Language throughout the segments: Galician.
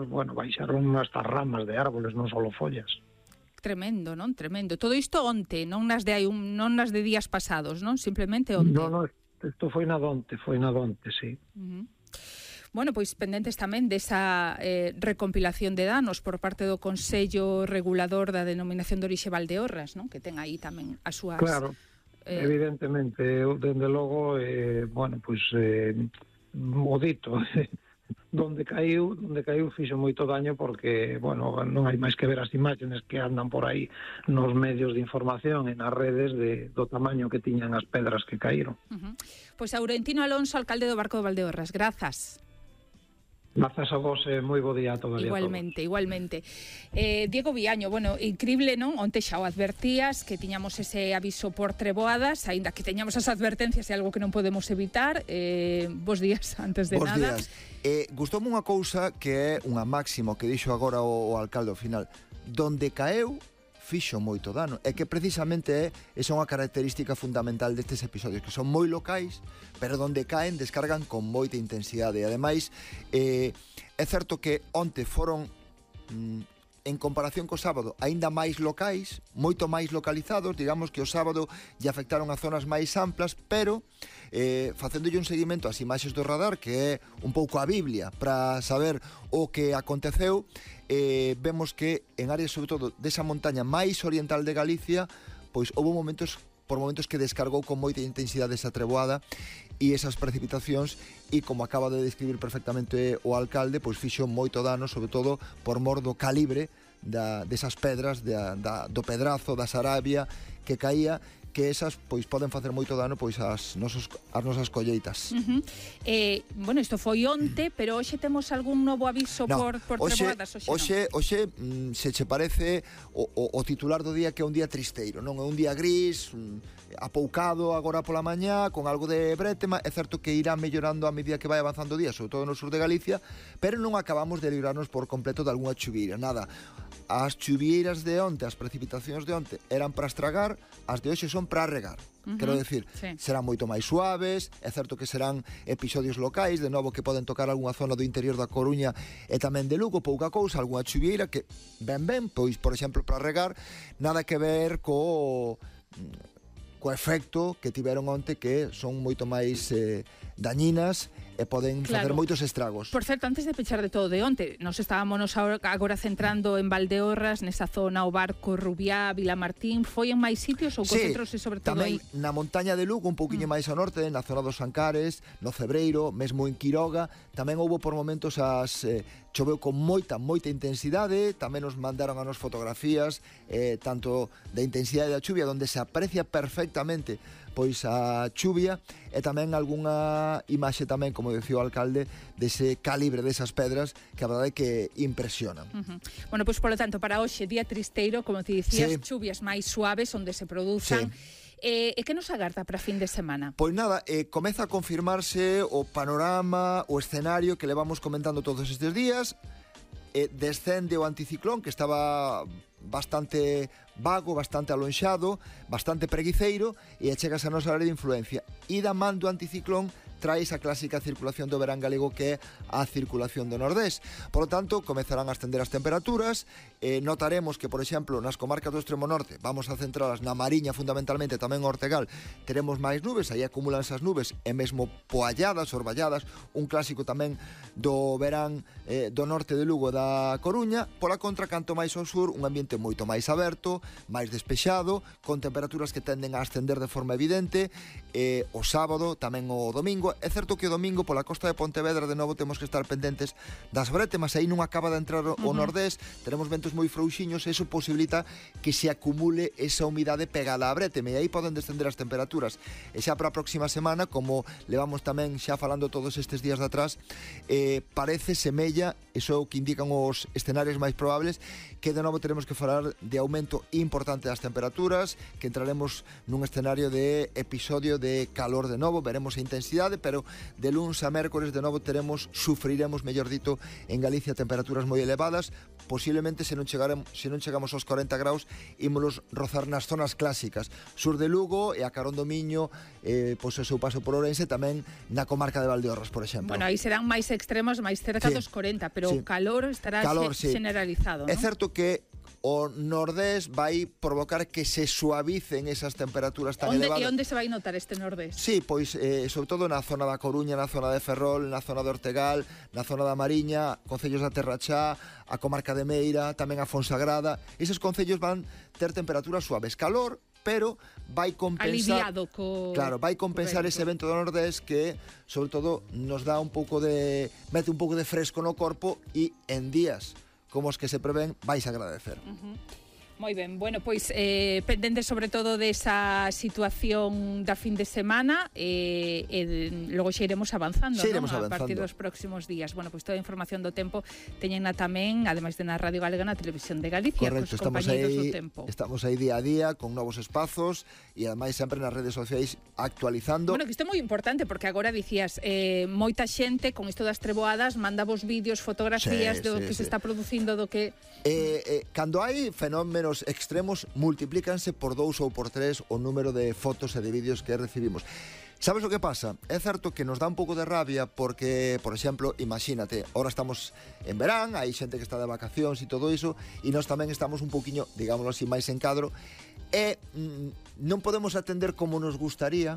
bueno, baixaron hasta ramas de árboles, non só follas. Tremendo, non? Tremendo. Todo isto onte, non nas de días pasados, non? Simplemente onte. Non, isto foi na donte, sí. Bueno, pois pendentes tamén desa recompilación de danos por parte do Consello Regulador da Denominación de Orixe Valdeorras, non? Que ten aí tamén as súas... Claro, evidentemente, dende logo, bueno, pois o dito, donde caiu fixo moito daño porque, bueno, non hai máis que ver as imaxes que andan por aí nos medios de información e nas redes do tamaño que tiñan as pedras que caíron. Pois Aurentino Alonso, alcalde do Barco de Valdeorras, grazas. Grazas a vos, moi bo día a todos. Igualmente. Diego Viaño, bueno, increíble, non? Onte xa o advertías que tiñamos ese aviso por treboadas, aínda que teñamos as advertencias, é algo que non podemos evitar. Bos días, antes de nada. Bos días. Gustoume unha cousa que é unha máxima que dixo agora o alcalde ao final. Donde caeu, fixo moito dano. É que precisamente esa é unha característica fundamental destes episodios, que son moi locais, pero donde caen descargan con moita intensidade. E ademais, é certo que onte foron, en comparación co sábado, aínda máis locais, moito máis localizados, digamos que o sábado lle afectaron a zonas máis amplas, pero facéndolle un seguimento ás imaxes do radar, que é un pouco a Biblia para saber o que aconteceu, vemos que en áreas sobre todo desa montaña máis oriental de Galicia, pois houve por momentos que descargou con moita intensidade esa treboada e esas precipitacións, e como acaba de describir perfectamente o alcalde, pois fixo moito dano, sobre todo por mor do calibre desas pedras, do pedrazo, da sarabia que caía, que esas pois poden facer moito dano pois ás nosas colleitas. Bueno, isto foi onte, pero hoxe temos algún novo aviso por treboadas? Hoxe, se che parece o titular do día, que é un día tristeiro, non? É un día gris, apoucado agora pola mañá, con algo de brétema. É certo que irá mellorando a medida que vai avanzando o día, sobre todo no sur de Galicia, pero non acabamos de librarnos por completo de algunha chuvieira, nada. As chuvieiras de onte, as precipitacións de onte eran para estragar, as de hoxe son para regar. Quero decir, serán moito máis suaves, é certo que serán episodios locais, de novo que poden tocar algunha zona do interior da Coruña e tamén de Lugo, pouca cousa, algunha chuvieira que ben, pois, por exemplo, para regar, nada que ver co efecto que tiveron onte, que son moito máis dañinas e poden facer moitos estragos. Por certo, antes de pechar de todo de onte, nos estábamos agora centrando en Valdeorras, nesa zona, o Barco, Rubiá, Vilamartín. Foi en máis sitios ou concentrouse sobre todo aí? Tamén na montaña de Lugo, un pouquiño máis ao norte, na zona dos Ancares, no Cebreiro, mesmo en Quiroga. Tamén houve por momentos choveu con moita intensidade. Tamén nos mandaron a nos fotografías tanto da intensidade da chuvia, onde se aprecia perfectamente pois a chuvia, e tamén algunha imaxe tamén, como decía o alcalde, dese calibre desas pedras, que a verdade é que impresionan. Bueno, pois polo tanto, para hoxe, día tristeiro, como te dicías, chuvias máis suaves onde se produzan. E que nos agarda para fin de semana? Pois nada, comeza a confirmarse o panorama, o escenario que levamos comentando todos estes días. Descende o anticiclón, que estaba bastante vago, bastante alonxado, bastante preguiceiro, e chegas a nosa área de influencia. E da man do anticiclón traes a clásica circulación do verán galego, que é a circulación do nordés. Por lo tanto, comezarán a ascender as temperaturas. Notaremos que, por exemplo, nas comarcas do extremo norte, vamos a centralas na Mariña fundamentalmente, tamén o Ortegal, teremos máis nubes, aí acumulan esas nubes, e mesmo poalladas, orballadas, un clásico tamén do verán do norte de Lugo, da Coruña. Pola contra, canto máis ao sur, un ambiente moito máis aberto, máis despexado, con temperaturas que tenden a ascender de forma evidente, o sábado, tamén o domingo. É certo que o domingo pola costa de Pontevedra de novo temos que estar pendentes das brétemas, aí non acaba de entrar o nordés, teremos ventos moi frouxiños, e iso posibilita que se acumule esa humidade pegada á brétema, e aí poden descender as temperaturas. E xa para a próxima semana, como levamos tamén xa falando todos estes días de atrás, parece, semella, iso é o que indican os escenarios máis probables, que de novo teremos que falar de aumento importante das temperaturas, que entraremos nun escenario de episodio de calor de novo. Veremos a intensidade, tarde, pero de luns a mércores de novo sufriremos, mellor dito, en Galicia temperaturas moi elevadas. Posiblemente se non chegamos aos 40 graus, ímolos rozar nas zonas clásicas, sur de Lugo e a carón do Miño, pois o seu paso por Ourense, tamén na comarca de Valdeorras, por exemplo. Bueno, aí serán máis extremos, máis cerca dos 40, pero o calor estará generalizado, ¿no? É certo que o nordés vai provocar que se suavicen esas temperaturas tan elevadas. E onde se vai notar este nordés? Sí, pois sobre todo na zona da Coruña, na zona de Ferrol, na zona de Ortegal, na zona da Mariña, concellos da Terrachá, a comarca de Meira, tamén a Fonsagrada. Eses concellos van ter temperaturas suaves, calor, pero vai compensar vai compensar ese vento do nordés que sobre todo nos dá mete un pouco de fresco no corpo e en días como os que se prevén vais agradecer. Moi ben, bueno, pois pendente sobre todo desa situación da fin de semana logo xa iremos avanzando, a partir dos próximos días. Bueno, pois toda a información do tempo teñena tamén, ademais de na Radio Galega, na Televisión de Galicia. Correcto, cos compañeiros do tempo. Estamos aí día a día con novos espazos e ademais sempre nas redes sociais actualizando. Bueno, que isto é moi importante porque agora dicías moita xente con isto das treboadas manda vos vídeos, fotografías do que se está producindo, do que cando hai fenómenos extremos multiplícanse por 2 ou por 3 o número de fotos e de vídeos que recibimos. Sabes o que pasa? É certo que nos dá un pouco de rabia porque, por exemplo, imagínate, ahora estamos en verán, hai xente que está de vacacións e todo iso, e nós tamén estamos un pouquiño, digámoslo así, máis en cadro, e non podemos atender como nos gustaría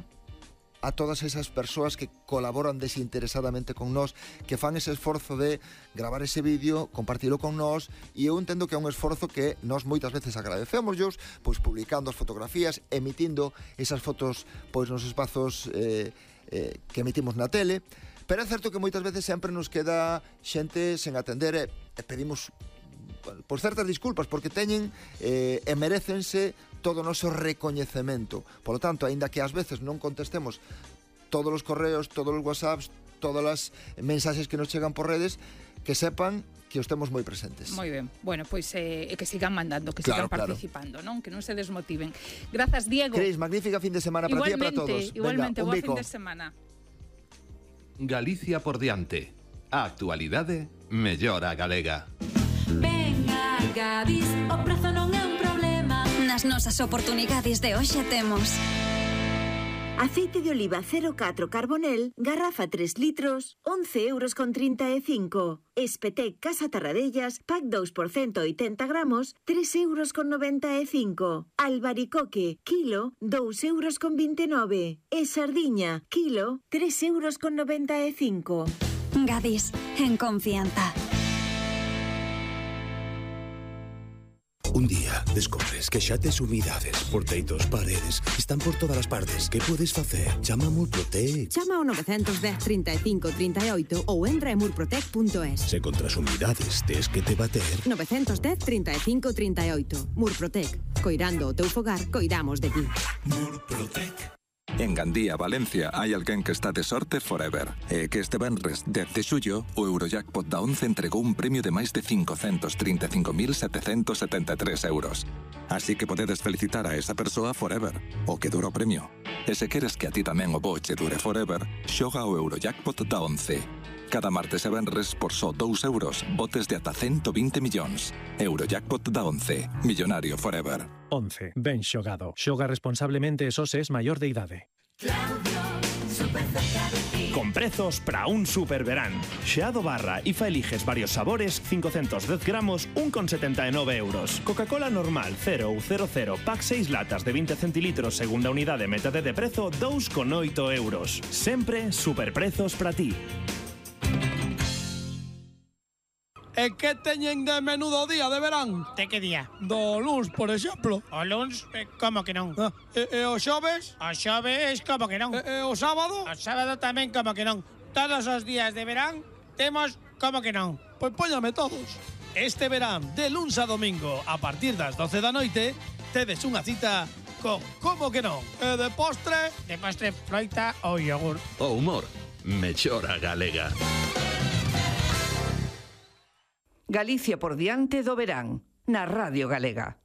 a todas esas persoas que colaboran desinteresadamente con nós, que fan ese esforzo de gravar ese vídeo, compartilo con nós, e eu entendo que é un esforzo que nós moitas veces agradecémoslos, pois publicando as fotografías, emitindo esas fotos pois nos espazos que emitimos na tele, pero é certo que moitas veces sempre nos queda xente sen atender e pedimos por certas disculpas, porque teñen e merecense todo o noso recoñecemento. Por lo tanto, aínda que ás veces non contestemos todos os correos, todos os whatsapps, todas as mensaxes que nos chegan por redes, que sepan que os temos moi presentes. Moi ben. Bueno, pois que sigan mandando, que sigan participando, non? Que non se desmotiven. Grazas, Diego. Cris, magnífica fin de semana para ti e para todos. Igualmente, boa fin de semana. Galicia por diante. A actualidade mellora galega. Venga, Gadis, o prezo non é un problema. Nas nosas oportunidades de hoxe temos aceite de oliva 04 Carbonel, garrafa 3 litros, 11,35 €. Espetec Casa Tarradellas, pack 2 por 180 gramos, 3,95 €. Albaricoque, kilo, 2,29 €. E sardiña, kilo, 3,95 €. Gadis, en confianza. Un día descubres que xa tes humidades por teitos, paredes, están por todas as partes. Que podes facer? Chama a Murprotec. Chama ao 910 35 38 ou entra en murprotec.es. Se contra as humidades tes que te bater. 910 35 38. Murprotec. Coirando o teu fogar, coidamos de ti. Murprotec. En Gandía, Valencia, hai alguén que está de sorte forever. E que este venres 10 de xullo, o Eurojackpot da 11 entregou un premio de máis de 535.773 €. Así que podedes felicitar a esa persoa forever, o que dura o premio. E se queres que a ti tamén o bo che dure forever, xoga o Eurojackpot da 11. Cada martes e venres, por só 2 €, botes de ata 120 millóns. Eurojackpot da 11. Millonario forever. 11. Ben xogado. Xoga responsablemente e só se es maior de idade. Con prezos para un superverán. Xeado barra IFA eliges varios sabores, 510 gramos, 1,79 €. Coca-Cola normal 0 ou 00, pack 6 latas de 20 centilitros, segunda unidade, metade de prezo, 2,8 €. Sempre superprezos para ti. E que teñen de menudo día de verán? De que día? Do luns, por exemplo. O luns? Como que non? E o xoves? O xoves, como que non? E o sábado? O sábado tamén, como que non? Todos os días de verán temos como que non? Pois póñame todos. Este verán, de luns a domingo, a partir das 12 da noite, tedes unha cita con como que non? E de postre? De postre, froita ou yogur. O humor mellora galega. Galicia por diante do verán, na Radio Galega.